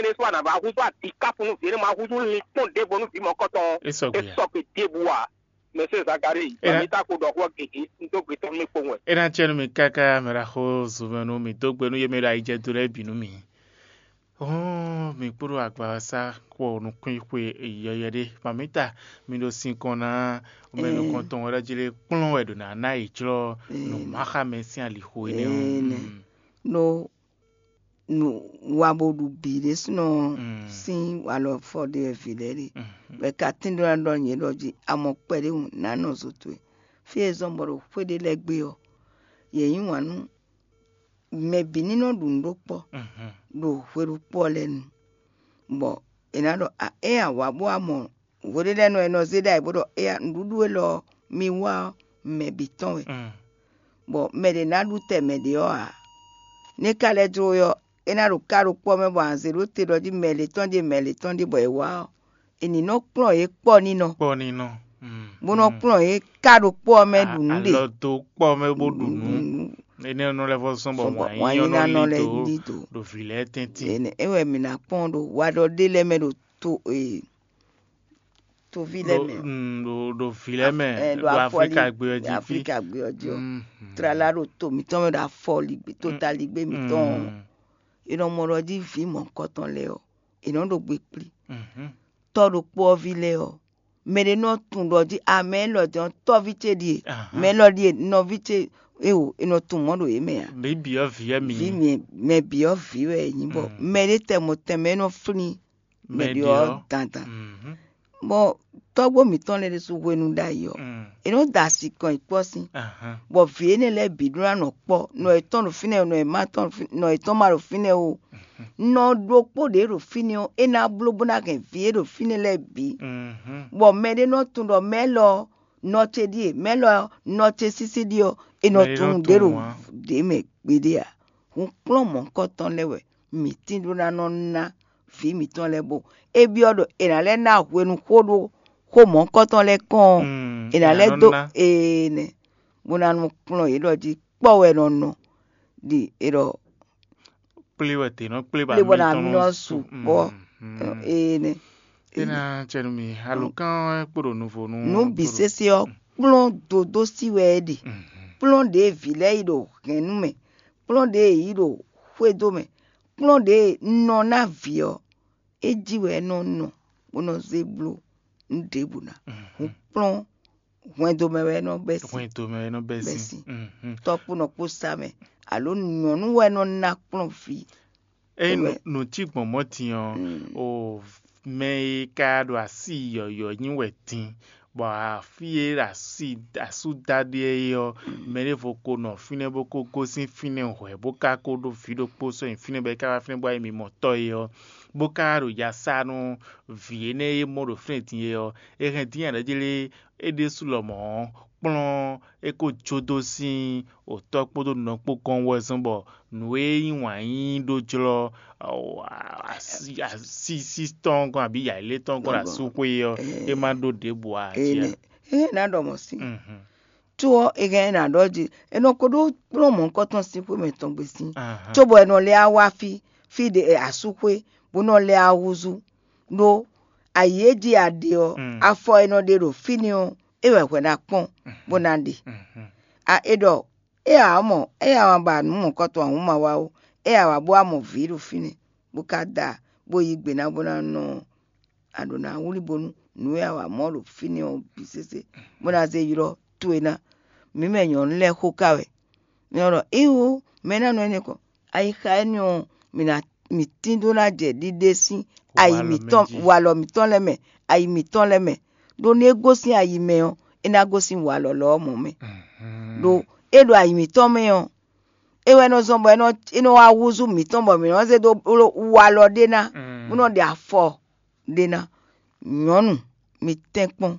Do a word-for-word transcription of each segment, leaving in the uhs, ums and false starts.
Énɛ́ sɔ́ a nǎ vǎ húzú adǐkáfu nú vǐ e nɔ ma húzú lin kpɔ́n ɖěvo nú vǐ mɔ̌kɔtɔn ɔ́, É sɔgbe é ǎ. Sɔgbe ɖěbǔ ǎ. Mɛ̌ sɛ́ Zakalíi, Ena- mi tá ko ɖɔ xó ɔ́ gěgé, un dó gbe tɔn nú mì kpowun wɛ. É ná acɛ nú mi káká, mɛ ɖaxó zunmɛ nú mì dó gbe nú yě mɛ e ɖo ayi jɛ do lɛ́ɛ bǐ nú mì. Hɔn mi kpódó agbawasa kpɔ nukúnxwe yɔyɔ ɖé. Mamita, mi ɖo sinkɔn ná mɛ nukɔntɔn wɛ ɖɔ jí lé kplɔ́n wɛ ɖo nǎ ná yi jlɔ́ nǔ máxámɛ sín alixo énɛ́ ɔ́. Ene. Mm. No nu wa bo ɖu bǐ ɖésúnɔ Mm. sín walɔ fɔ ɖe wɛ vǐ lɛ́ɛ ɖe. Mm. Bɔ è ka tín ɖó ná ɖɔ nyɛ ɖɔ jí a mɔ kpɛɖéhùn nǎ nɔ zo towe. Fí e zɔ́n bɔ ɖo xwé ɖé lɛ́ɛ gbe ɔ́, yě yí wǎn nú mɛ bǐ ní nɔ ɖu nǔ ɖó kpɔ́ Mhm. ɖo hwe ɖokpó ɔ́ lɛ́ɛ nu, bɔ è nǎ ɖɔ a é a wǎ bó wá mɔ hweɖéɖɛ́nɔ e nɔ zé ɖ'ayǐ bó ɖɔ éyá nǔɖuɖu élɔ́ ɔ́, mi wá ɔ́, mɛ bǐ tɔn wɛ, Mm. bɔ mɛ ɖě ná ɖu tɛ mɛ ɖě ɔ́ ǎ. Nú é ka lɛ́ jló we ɔ́, é ná ɖo ká ɖokpó ɔ́ mɛ bɔ a nǎ zé ɖó te ɖɔ jí mɛ lě tɔn ɖíe mɛ lě tɔn ɖíe bɔ è wá ɔ́, è nǐ nɔ kplɔ́n yě kpɔ́ ní nɔ, Kpɔ́ ní nɔ. Mm, bó nɔ mm. kplɔ́n yě ká ɖokpó ɔ́ mɛ A- ɖu nǔ ɖe. Alɔ dó kpɔ́ mɛ bó ɖu nǔ. Nǔ. Énɛ́ nɔ lɛ́ vɔ́ zɔ́n bɔ Sɔ́ bɔ wǎn wǎn nyí nyí ná nɔ nɔ lɛ́ lí dǒ. Lí dǒ. Ɖo vǐ lɛ́ɛ tɛ́ntin. Ene é wɛ mǐ ná kpɔ́n ɖo wa ɖɔ ɖé lɛ́ɛ mɛ ɖo to e toví lɛ́ɛ Ɖo, mɛ, mm, ɖo, ɖo vǐ lɛ́ɛ mɛ, ɛ, ɖo ɖo afɔli Aflika gbé ɔ́ jí fí. Aflika gbé ɔ́ jí ɔ́. Mm. Tlala ɖo to mǐtɔn mɛ ɖo afɔligbe, totaligbé mítɔn ɔ́. Mm. È nɔ mɔ ɖɔ jí vǐ mɔ̌hunkɔtɔn lɛ́ɛ ɔ́, è nɔ ɖo gbe kplí. Mhm. Tɔ́ ɖokpó ɔ́ ví lɛ́ɛ ɔ́, mɛ ɖé nɔ tunwun ɖɔ jí a mɛ élɔ́ din ɔ́, tɔ́ví ce ɖíe, Ahan. mɛ élɔ́ ɖíe, nɔví ce, éwo, è nɔ tunwun mɔ̌ ɖo yě mɛ ǎ. Mǐ bǐ ɔ́ vǐ wɛ mǐ Vǐ nyí. Mɛ bǐ ɔ́ vǐ wɛ è nyí, bɔ Mm. mɛ ɖé tɛnmɔ tɛnmɛ é nɔ flín mɛ ɖě ɔ́ dandan. Mhm. Bɔ tɔ́gbó mǐtɔn lɛ́ɛ ɖésú hwenu ɖ'ayǐ ɔ́, Mm. è nɔ da asi kɔn yi kpɔ́ sín, Ahan. bɔ vǐ énɛ́ lɛ́ɛ bǐ ɖó ná nɔ kpɔ́, nɔ yětɔn ɖo fínɛ́, nɔ yětɔn ɖo fínɛ́ o, nɔ ɖokpó ɖě ɖo fínɛ́ ɔ́, é ná bló bó ná hɛn vǐ e ɖo fínɛ́ lɛ́ɛ bǐ. Mhm. Bɔ mɛ ɖé nɔ tunwun ɖɔ mɛ élɔ́ ɔ́, nɔ ce ɖíe, mɛ élɔ́ ɔ́, nɔ ce sísí ɖíe ɔ́, è nɔ Mɛ ɖé nɔ tunwun ɖě ɖo tunwun ǎ. Ɖě mɛ gbeɖé ǎ. Hun kplɔ́n mɔ̌hunkɔtɔn lɛ́ɛ wɛ mǐ tín ɖó ná nɔ ná vǐ mǐtɔn lɛ́ɛ bó. É byɔ́ ɖɔ è nǎ lɛ́ ná hwenu xó ɖó xó mɔ̌hunkɔtɔn lɛ́ɛ kɔn ɔ́, Mm, è nǎ è nǎ lɛ́ nɔ dó ná. Ene, bó ná nɔ kplɔ́n yě ɖɔ jí kpɔ́ wɛ è nɔ nɔ ɖi è ɖɔ Kplé wɛ tě nɔ kplé bɔ kplé bɔ ná mi tɔn mi nɔ nɔ su su. Kpɔ́. Mm, mm. Ene. É ná cɛ nú mi. Alokán ɔ́ kpo ɖo nuvo nú Nǔ bǐ sésé ɔ́, kplɔ́n dodó sí wɛ é ɖe. Mhm. Kplɔ́n ɖě vǐ lɛ́ɛ yi ɖo hɛ̌nnu mɛ, kplɔ́n ɖě yě yi ɖo xwédo mɛ, kplɔ́n ɖě nɔ ná vǐ ɔ́, é jí wɛ é nɔ nɔ, bó nɔ zé bló nǔ ɖěbǔ ná. Hun kplɔ́n hwɛndo mɛ wɛ é nɔ bɛ́ sín. Hwɛndo mɛ wɛ é nɔ bɛ́ Bɛ́ sín. sín. Mhm. Tɔ́ kpó nɔ kpó sá mɛ, alo nyɔ̌nu wɛ nɔ ná kplɔ́n vǐ. Ényí Tɔ́ nǔ, mɛ. Nǔ cí gbɔn mɔ̌ din ɔ́, Mm. o mɛ e ka ɖo así yɔ̌yɔ́ nyi wɛ din, bɔ afí e ɖo así asú da ɖe é ɔ́, mɛ ɖěvo ko nɔ fínɛ́ bó ko gosín fínɛ́ hwɛ̌, bó ka ko ɖó vǐ ɖokpó sɔ́ nyi fínɛ́ bɔ é ka wá fínɛ́ bó wá nyí mimɔtɔ́ é ɔ́, bó ka ɖo ya sa nú vǐ énɛ́ e mɔ ɖo fínɛ́ din é ɔ́, é hɛn dín aɖɔ̌jlé é ɖésú lɔmɔ̌ ɔ́, kplɔ́n é ko jó dó sín òtɔ́ kpódó nɔ kpó gɔ́n wɛ zɔ́n bɔ nǔ e nyí wǎn yíyí ɖó jlɔ́, ɔ, así así tɔn gɔ́n abǐ yǎyilé tɔn gɔ́n ɖo asúxwé ɔ́, é má ɖó ɖěbǔ ǎ. Ene. Ene ná ɖɔ mɔ̌ sín. Mhm. Tó ɔ́, è hɛn ɛ nǎ ɖɔ jí, è nɔ ko ɖó kplɔ́n mɔ̌hunkɔtɔn sín xwé mɛtɔn gbe sín, Ahan. Cóbɔ è nɔ lɛ́ wá fí, fí ɖě asúxwé, bó nɔ lɛ́ wá húzú, ɖó ayǐ e jí a ɖe ɔ́, Mm. afɔ e nɔ ɖe ɖo fínɛ́ ɔ́, é wɛ hwɛ ná kpɔ́n, bó ná ɖe. Mhm. A é ɖɔ, é ǎ mɔ, é ǎ wǎn ba nǔ mɔ̌hunkɔtɔn ahǔn ma wa ó, é ǎ wǎ bó wá mɔ vǐ ɖo fínɛ́, bó ka da, bó yí gbe ná bó ná nɔ a ɖǒ ná wlí bónú nǔ e a wa mɔ ɖo fínɛ́ ɔ́ bǐ sésé, bó ná zé ylɔ́ towe ná. Mǐ mɛ nyɔ̌nu lɛ́ɛ xó ka wɛ. Mǐ nɔ ɖɔ, íwú, mɛ ná nɔ énɛ́ kɔ. Ayixa énɛ́ ɔ́, mǐ ná mǐ tín dó ná jɛ ɖiɖe sín ayi mǐtɔn, walɔ mǐtɔn lɛ́ɛ mɛ, ayi mǐtɔn lɛ́ɛ mɛ. Ɖó nú é gosín ayi mɛ ɔ́, é ná gosín walɔ lɔ ɔ́ mɔ̌ mɛ. Ɖó é ɖo ayi mǐtɔn mɛ ɔ́, é wɛ nɔ zɔn bɔ é nɔ é nɔ wá húzú mǐtɔn bɔ mǐ nɔ zé dó bló walɔ ɖé ná, bó nɔ ɖe afɔ ɖé ná. Nyɔ̌nu, mi tɛ́nkpɔ́n,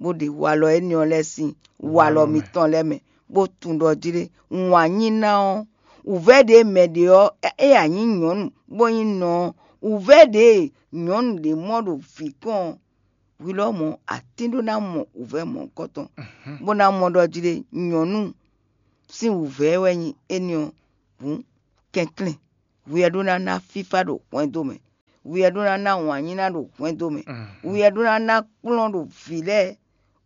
bó ɖe walɔ énɛ́ ɔ́ lɛ́ɛ sín walɔ mitɔn lɛ́ɛ mɛ, bó tunwun ɖɔ jí ɖé wǎn nyí ná ɔ́, wǔvɛ́ ɖě mɛ ɖě ɔ́, é a nyǐ nyɔ̌nu bó nyí nɔ ɔ́, wǔvɛ́ ɖě nyɔ̌nu ɖě mɔ ɖo vǐ kɔn ɔ́, hwi lɔmɔ̌ a tín ɖó ná mɔ wǔvɛ́ mɔ̌hunkɔtɔn, bó ná mɔ ɖɔ jí ɖé nyɔ̌nu sín wǔvɛ́ wɛ nyí énɛ́ ɔ́, hǔn kɛnklɛ́n hwi wɛ ɖó ná ná fífá ɖo hwɛndo mɛ. Wi wɛ ɖó ná ná wǎn nyíná ɖo hwɛndo mɛ. Wi wɛ ɖó ná ná kplɔ́n ɖo vǐ lɛ́ɛ.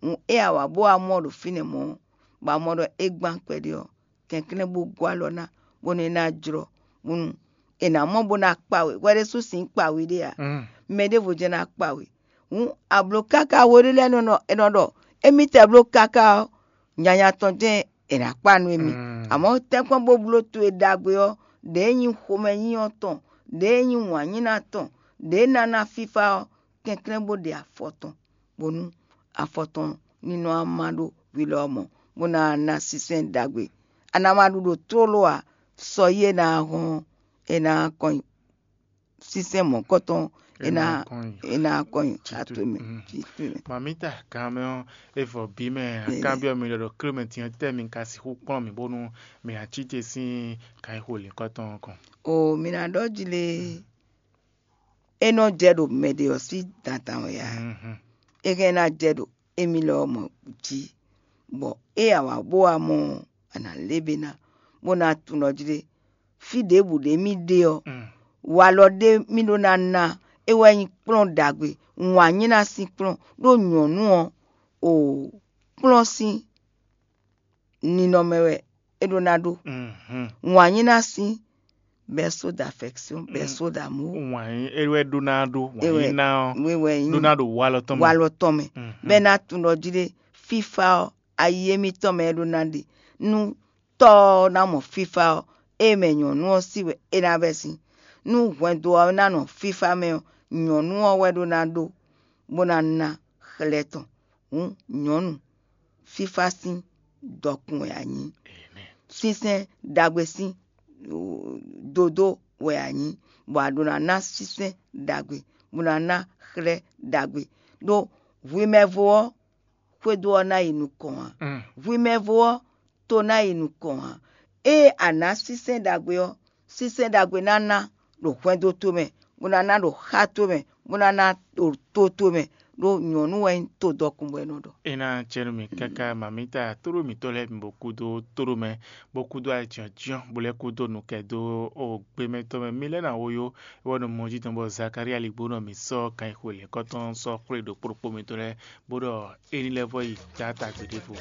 Hǔn é a wǎ bó wá mɔ ɖo fínɛ́ mɔ̌, bɔ a mɔ ɖɔ é gbán kpɛɖé ɔ́, kɛnklɛ́n bó gɔ́ alɔ ná, bónú é ná jlɔ́, bónú è nǎ mɔ bó ná kpa we. Hwɛ ɖésú sin kpa we ɖé ǎ. Mɛ ɖěvo jɛ́n ná kpa we. Hǔn a blǒ káká we ɖé lɛ́ɛ nɔ nɔ è nɔ ɖɔ émítɛ́ bló káká ɔ́, nyanya tɔn jɛ́n è nǎ kpa nú émí. Amɔ̌ tɛ́nkpɔ́n bó bló towe ɖagbe ɔ́, ɖěe nyí xomɛnyínyɔ́ tɔn, ɖěe nyí wǎnyíná tɔn, ɖěe ná ná fífá ɔ́, kɛnklɛ́n bó ɖe afɔ tɔn, bónú afɔ tɔn ní nɔ wá má ɖó hwi lɔ ɔ́ mɔ, bó ná ná sínsɛ́n ɖagbe. A nǎ ma ɖu ɖo tlóló ǎ, sɔ yí e ná hɔn ɔ́, é ná kɔn nyi sínsɛ́n mɔ̌kɔtɔn, é ná é ná kɔn nyi xá towe mɛ. Mamita gan mɛ ɔ́, é vɔ bí mɛ akábyɔ́ mi ɖɔ ɖɔ klé mɛ din ɔ́, tɛ́ mi ka sixú kplɔ́n mì bónú mi ná cí te sín kan e xo lǐnkɔ́ tɔn ɔ́ kɔn? O mi ná ɖɔ jí lé, é nɔ jɛ ɖo mɛ ɖě ɔ́ sín dandan wɛ ǎ. É hɛn ná jɛ ɖo émí lɔ ɔ́ mɔ jí, bɔ é a wǎ bó wá mɔ ɔ́, a nǎ lé be ná, bó ná tunwun ɖɔ jí ɖé, fí ɖěbǔ ɖé mì ɖe ɔ́, walɔ ɖé mì ɖó ná ná, é wɛ nyí kplɔ́n ɖagbe, wǎn nyí ná sín kplɔ́n, ɖó nyɔ̌nu ɔ́, o kplɔ́n sín ninɔmɛ wɛ é ɖó ná ɖó. Wǎn nyí ná sín bɛ́ só d'affection, bɛ́ só d'amour. Wǎn é wɛ ɖó ná ɖó, wǎn é wɛ nyí ná ɔ́ wé wɛ nyí ɖó ná ɖo walɔ tɔn mɛ. Walɔ tɔn mɛ. Bɛ́ ná tunwun ɖɔ jí ɖé, fífá ɔ́, ayi émítɔn mɛ é ɖó ná ɖe. Nú tɔ́ ɔ́ ná mɔ fífá ɔ́, é mɛ nyɔ̌nu ɔ́ sí wɛ é ná bɛ́ sín. Nú hwɛndo ɔ́ ná nɔ fífá mɛ ɔ́, nyɔ̌nu ɔ́ wɛ ɖó ná ɖó, bó ná ná xlɛ́ tɔn. Hǔn nyɔ̌nu, fífá sín dɔkun wɛ a nyǐ. Sínsɛ́n ɖagbe sín dodó wɛ a nyǐ, bɔ a ɖó ná ná sínsɛ́n ɖagbe, bó ná ná xlɛ́ ɖagbe. Ɖó hwi mɛvo ɔ́, xwédo ɔ́ ná yi nukɔn ǎ. Hwi mɛvo ɔ́, to ná yi nukɔn ǎ. Ée a nǎ sínsɛ́n ɖagbe ɔ́, sínsɛ́n ɖagbe ná ná ɖo hwɛndo tomɛ, bó ná ná ɖo xá tomɛ, bó ná ná ɖo to tomɛ, ɖó nyɔ̌nu wɛ nyí todɔkun bɔ é nɔ ɖɔ. É ná acɛ nú mì káká mamita tóɖó mǐtɔn lɛ́ɛ bǐ bó kúdó tóɖó mɛ, bó kúdó acyɔ̌cyɔ́n, bó lɛ́ kúdó nukɛ dó o gbémɛ tɔn mɛ. Mi lɛ́ ná wo yó, é wɛ ɖo mɔ jí tɔn bɔ Zakalía ligbó nɔ mǐ sɔ́ kan e xwe lěkɔ́tɔn sɔ́ xwlé ɖokpó ɖokpó mitɔn lɛ́ɛ, bó ɖɔ é ní lɛ́ vɔ yi Gaata gbeɖévo.